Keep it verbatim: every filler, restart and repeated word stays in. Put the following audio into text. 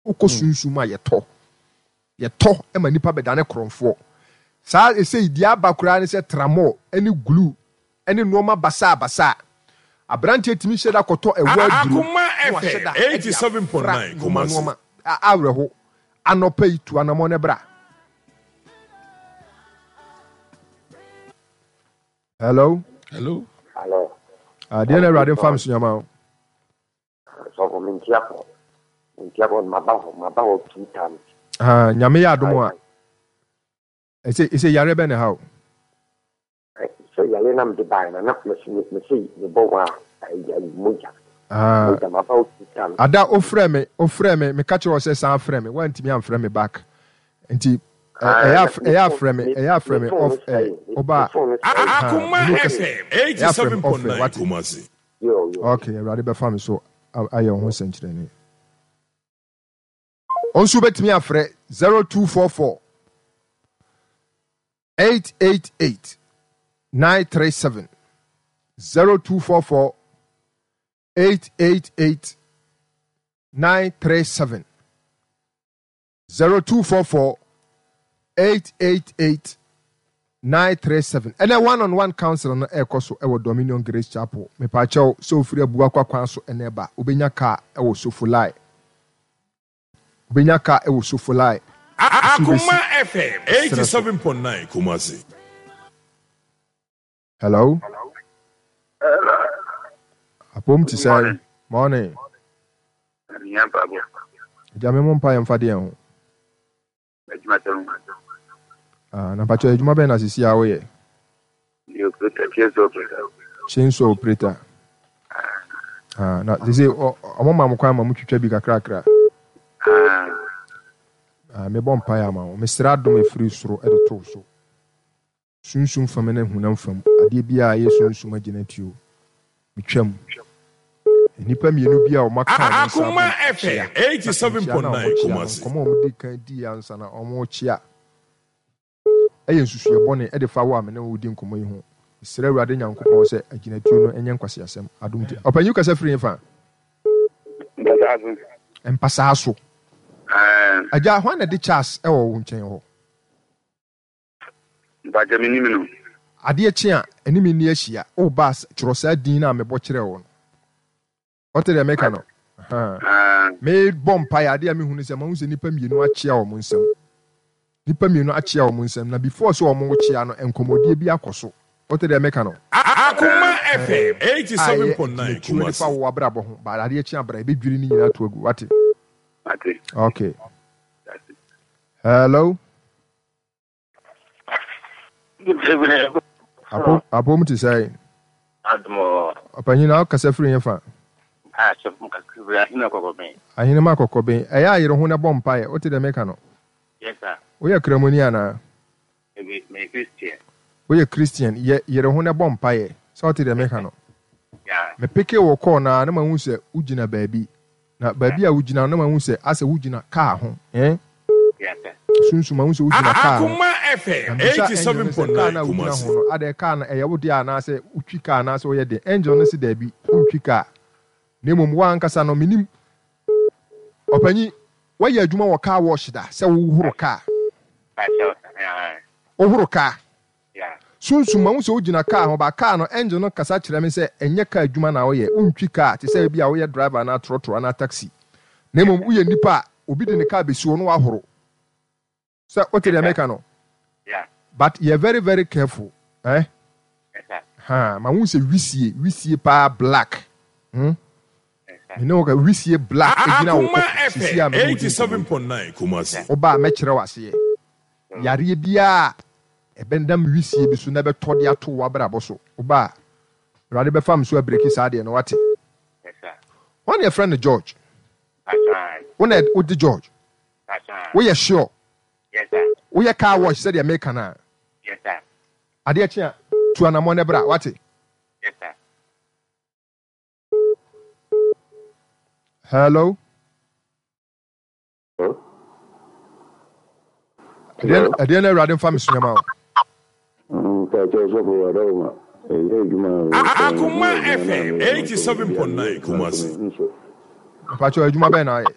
Wokɔ sunsum a yɛtɔ. Yɛtɔ ma nnipa bɛdane korɔmfoɔ. Saa ɛsei deɛ aba koraa ne sɛ tramɔɔ ne glue ne nnoɔma basaa basaa. Aberanteɛ tumi hyɛ da kɔtɔ ɛwɔ aduro na wahyɛ da de afra nnoɔma nnoɔma. Awerɛho. Anɔpa yi tu anamɔn na bra. Hello. Hello. Hello. Adeɛ na Awurade mfa me so nyama o. Sɔfo me ntia kɔ. Me ntia kɔ maba hɔ maba hɔ two times. Ah, Nyame yɛ adom a. Ɛsɛ ɛsɛ yare bɛ na ha o. Sɛ yare na mede bae na na mese mese mebɔ wa ayi mogya. Ah. Mogya maba hɔ two times. Ada ofrɛ me ofrɛ me meka kyerɛ wo sɛ san frɛ me woantumi amfrɛ me back. Nti ɛyɛ ɛyɛ afrɛ me ɛyɛ afrɛ me off air ɔba Akoma F M ɛyɛ afrɛ me off air wate. Kumasi. Okay, Awurade bɛfa me so ayɛ wo ho sɛnkyerɛnne. Ɔnso wobɛtumi afrɛ zero two four four eight eight eight nine three seven zero two four four eight eight eight nine three seven zero two four four eight eight eight nine three seven. Ɛnɛ one on one council no ɛrekɔ so ɛwɔ Dominion Grace Chapel. Mepaakyɛw sɛ ofiri Abuakwa kwan so ɛnɛ ba, wobɛnya kaa ɛwɔ Sofolai. Wobɛnya kaa ɛwɔ Sofolai. Akoma F M eighty seven point nine Kumasi. Hello. Hello. Apom ti sɛ morning. Agya me mo mpa yɛn fa deɛ ho. Ah, na mpakyɛ adwuma bɛn na sisi a woyɛ? Chainsaw operator. Chainsaw operator. Ah, na sisi ɔmo ma mo kwan ma mo twitwa bi kakrakra. Ah, mebɔ mpaeɛ ama wo. Mesrɛ adom efiri soro ɛde to so. Sunsum fam ne honam fam adeɛ biara a ɛyɛ sunsum agyinatuo, metwam. Nnipa mmienu bi a wɔaka wɔn nsa abom Akoma akyea, F M na eighty seven nkyea no point a nine wɔkyea no, Kumasi. nkɔmmɔ a wɔdii kan diiɛ ansa na wɔrekyea yɛ nsusuiɛ bɔne de fa wo a me ne wo redi nkɔmmɔ yi ho. Mesrɛ Awurade Nyankopɔn sɛ agyinatuo no nyɛ nkwaseasɛm. Adom nti. Ɔpanyin kasa firi hefa? Mpasaa so. Mpasaa so. Ɛɛ. Agya, hwan na ɛde Charles wɔ wo nkyɛn hɔ? Mpakyɛ me nim no. Adeɛ kye a, ɛne me nni ahyia. O ba, twerɛ saa din no a mebɔ kyerɛɛ wo no. Wote deɛ meka no? Ahaa. Mebɔ mpaeɛ, adeɛ a mehu ne sɛ, mahu sɛ nnipa mmienu akyea wɔn nsam. Nnipa mmienu akyea wɔn nsam, na before sɛ wɔrekyea no, nkɔmmɔdie bi akɔ so. Wote deɛ meka no? Akoma F M A eighty ɛyɛ seven point nine agyinatuo de fa Kumasi. wo abrabɔ ho, but adeɛ kye a bra, yɛbɛdwiri ne nyinaa ato agu. Wate? Mate. Okay. Hello? Apom te sɛn? Ɔpanyin na ɔkasa firi he fa? Ahenema Kɔkɔben. Ɛyɛ a yere ho na bɔ mpaeɛ. Wote deɛ meka no? Woyɛ Kramoni anaa? Woyɛ Christian. Yɛ yere ho na bɔ mpaeɛ. Sɛ wote deɛ meka no? Mepeke wo kɔɔ no ara na mahu sɛ wogyina baabi. Na baabi a wogyina no na mahu sɛ asɛ wogyina kaa ho. Eh? Sunsum, mahu sɛ wogyina kaa ho. Akoma Na F M mebisa angel eighty no seven sɛ, point kaa nine no a wogyina Kumasi. ho no, adɛn kaa no ɛyɛ wo dea anaasɛ wotwi kaa anaasɛ woyɛ den? Angel no se daabi, wontwi kaa. Na mmom wo ankasa no, menim. Ɔpanyin, woayɛ adwuma wɔ car wash da sɛ wohoro kaa? Wohoro kaa? Sunsum, mahu sɛ wogyina kaa ho, but kaa no, angel no kasa kyerɛ me sɛ ɛnyɛ kaa adwuma na woyɛ, wontwi kaa te sɛ ebia woyɛ driver anaa trɔtrɔ anaa taxi. Na mmom woyɛ nipa a obi de ne kaa besi hɔ na wahoro. Sɛ wote deɛ meka no? But yɛ very very careful eh? Ha, mahu sɛ wisie, wisie paa black. Hmm? Me ne wo ka wisie black egyina wo Akoma koko sisi a F M me ne wo di eighty nkɔmmɔ seven yi. point nine Kumasi. Woba a mɛkyerɛ wo aseɛ. Yareɛ biara a ɛbɛnam wisie bi so na ɛbɛtɔ de ato w'abrabɔ so. Woba a, Awurade bɛfa me so abireki saa deɛ no, wate? Hwan na yɛfrɛ no George? Wo na wode George? Woyɛ sure? Woyɛ car wash sɛdeɛ meka no a? Adeɛ kye a, tu anammɔn na bra, wate? Hello? Ɛdeɛ na Awurade mfa me so nyɛma wo. Akoma F M eighty seven point nine Kumasi. Mpakyɛ adwuma bɛn na ayɛ?